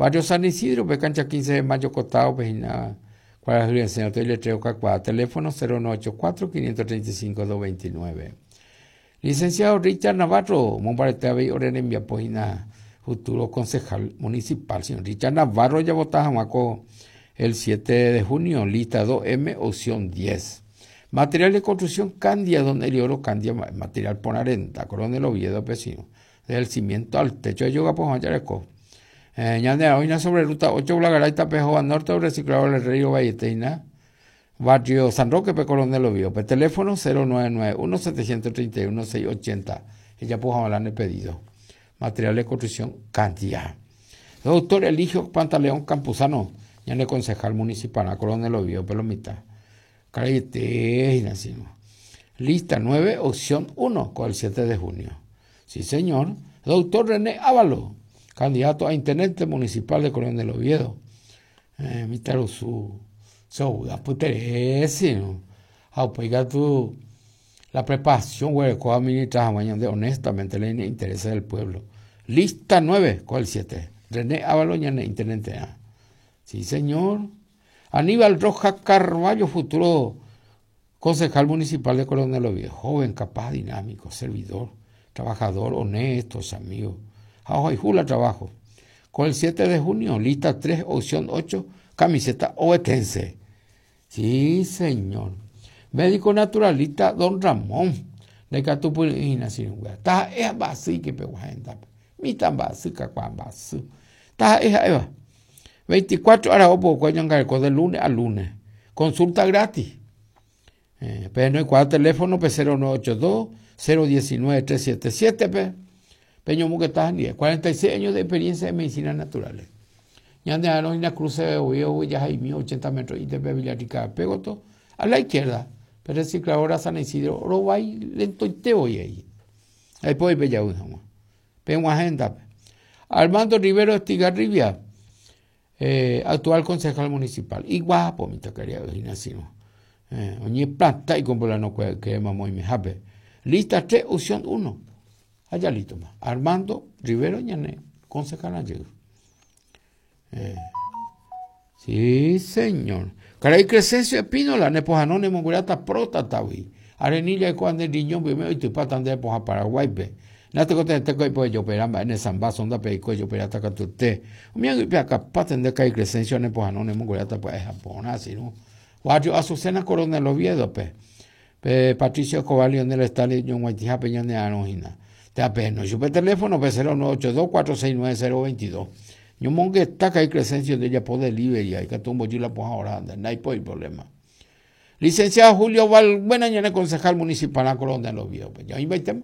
Barrio San Isidro pe cancha 15 de mayo costado pe hína kuarahy resẽ oto iletrero kakuaa teléfono 0984 535 229. Licenciado Richard Navarro omombarete avei ore rembiapo hína futuro concejal municipal señor Richard Navarro javota hag̃ua ko el 7 de junio lista 2M opción 10. Material de construcción Candia don Elioro Candia material porã renda Coronel Oviedo pe sino del cimiento al techo ejogapo hag̃ua jareko. Eh, ñande oĩna sobre ruta 8 Blagaray tape hóva norte reciclado del Rey Ovaiete hína Barrio San Roque pe Coronel Oviedo pe teléfono 0991 731 680 ejapo hag̃ua la ne pedido. Material de construcción Candia. Doctor Eligio Pantaleón Campuzano ñane concejal municipal Coronel Oviedo pe lo mitã. Karaiete hína sino. Lista 9, opción 1, con el 7 de junio. Sí, señor. Doctor René Ávalo, candidato a intendente municipal de Coronel Oviedo. Eh, mitãrusu so'u apytere sino. Ha upéi katu la preparación guereko administra hag̃ua ñande honestamente le interesa del pueblo. Lista 9, con el 7. René Ávalo ñane intendenterã. Sí, señor. Aníbal Rojas Carballo, futuro concejal municipal de Coronel Oviedo, joven, capaz, dinámico, servidor, trabajador, honesto, amigo. Ha ohayhu la trabajo. Con el 7 de junio, lista 3, opción 8, camiseta ovetense. Sí, señor. Médico naturalista Don Ramón. Ndaikatupyry'ỹ hína sirũnguéra. Taha'e ha mba'asy ikepegua hendápe. Mitã mba'asy, kakuaa mba'asy. Taha'e ha'éva. 24 ára opokue oñangareko de lunes a lunes. Consulta gratis. Eh, pe noikuaa teléfono pe 0982 019 377 pe peñomongeta hendive. 46 años de experiencia en medicina naturales. Ñande arõ hína cruce de Oviedo jahaimi 80 metros ITP Villarrica Pégoto a la izquierda. Pe recicladora San Isidro rovái lentoite voi ahí. Aipói pejavy hag̃ua. Peg̃uahẽ hendápe. Armando Rivero Estigarribia, eh, actual concejal municipal. Iguapo mitãkaria'y hína sino. Eh, oñeplanta ikombolano kuéra ykére mamo oimehápe. Lista 3, opción 1. Ha ya listoma. Armando Rivero ñane concejal jey. Eh, sí, señor. Karai Crescencio Espínola, ne pohano ne mongueráta próstatagui. Arenilla oikóva nde riñón pyme oitypáta nde pohã Paraguáipe. Natekotevẽte ko aipo ejopera mba'e ne samba sonda pe eiko ejoperáta katuete. Umi aguype akapáte nde karai Crescencio ne pohano ne mongueráta pya'e ha porã, sirũ. Barrio Azucena Coronel Oviedo-pe. Pe Patricio Escobar Lionel Stanley ñoguaitĩhápe ñane arõ hína. Térã pehenói chupe teléfono-pe 0982 469 022. Ñomongeta karai Crescencio nde ojapo delivery ha ikatu ombojy la pohã hora nde, ndaipóri problema. Licenciado Julio Valbuena ñane concejal municipal-rã Coronel Oviedo-pe. Ñaoĩmbaitéma.